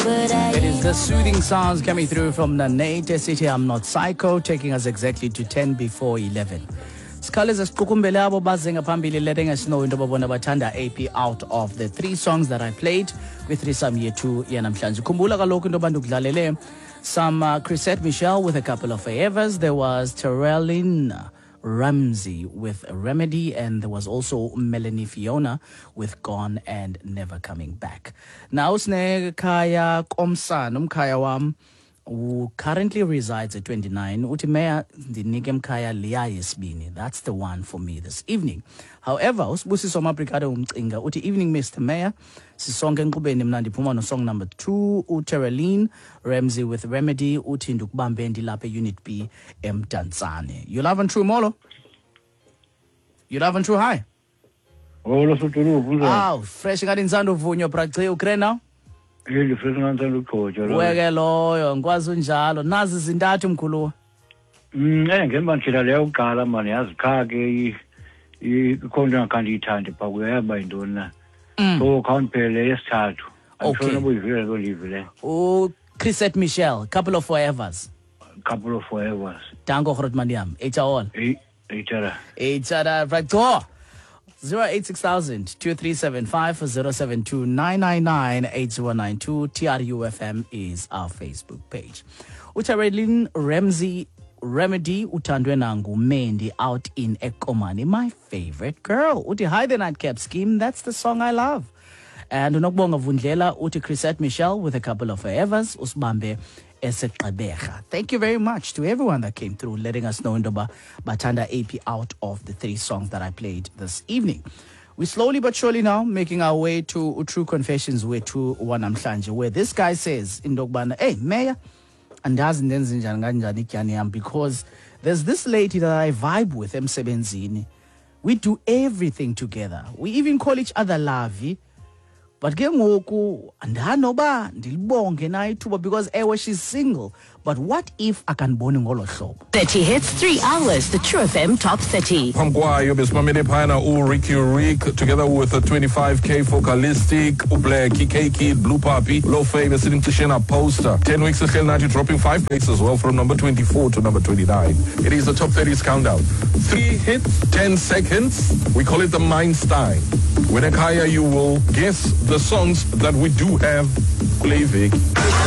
But I It is the soothing sounds coming through from the Nate City. I'm not psycho, taking us exactly to 10 before 11. Sikhawuleze siqukumbele abo baze ngaphambili, letting us know into babona bathanda AP out of the three songs that I played kwi-threesome yethu yanamhlanje. Khumbula kaloku into yoba ndikudlalele some Chrisette Michelle with "A Couple of Forevers", there was Terrelyn Ramsey with "Remedy", and there was also Melanie Fiona with "Gone and Never Coming Back". Now sinekhaya komsana, umkhaya wam who currently resides at 29, uthi, "Meya, ndinike mkhaya liya yesibini. That's the one for me this evening." However, uSibusiso Mabrigado umcinga uthi, "Evening, Mr Mayor, sisonke enkqubeni. Mna ndiphuma nosong number 2, uTerrelyn Ramsey with "Remedy". Uthi ndikubambe ndilapha eUnit B eMdantsane. You love and true, molo. You love and true, hi. Holo, sodolophu, unjani? Aw, fresh, ngathi ndisanda uvunywa, braci ukre now. Eh, ndifresh, ngathi ndisanda ugqotywa. Weke loyo ngikwazi unjalo, nazi zintathu, mkhuluwa. Ngemba ndithetha leyo kuqala mani, yazi qha ke ikhona into engakhange ndiyithande phaa kuyo, yaba yintoni na. So khawundiphele yesithathu. Okay. Andifuna noba uyivile loo ndiyivile. UChrisette Michelle, "Couple of Forevers". "Couple of Forevers". Danko, grootman yam, hr. Eyi, eyitshara. Hr braco. 086 2375 072 999 8092. TRUFM is our Facebook page. UTerrelyn Ramsey, "Remedy", uthandwe nanguMendi out in Ekomani. "My favorite girl." Uthi, "Hi, the Nightcap Scheme. That's the song I love." And uNokubonga Vundlela uthi Chrisette Michelle with "A Couple of Forevers", usibambe eseGqeberha. Thank you very much to everyone that came through, letting us know intoba bathanda AP out of the three songs that I played this evening. We slowly but surely now making our way to True Confessions wethu wanamhlanje, where this guy says into yokubana, "Hey Mayor, andazi ndenze njani kanjani ityani yam, because there's this lady that I vibe with emsebenzini. We do everything together. We even call each other lovey. But ke ngoku andanoba ndilibonge na ithuba, because ewe, she's single, but what if akandiboni ngolo hlobo?" 30 hits, 3 hours. The True FM Top 30. Phambi kwayo besimamele phayana uRicky Rick together with the 25K Focalistic, uBlack, K Kid, Blue Puppy, Low Fame, esithi Mcishena Poster. 10 weeks ehleli nathi, dropping 5 places as well from number 24 to number 29. It is the Top 30s countdown. 3 hits, 10 seconds. We call it the Mindstein. When Akaya, you will guess the songs that we do have kule iveki.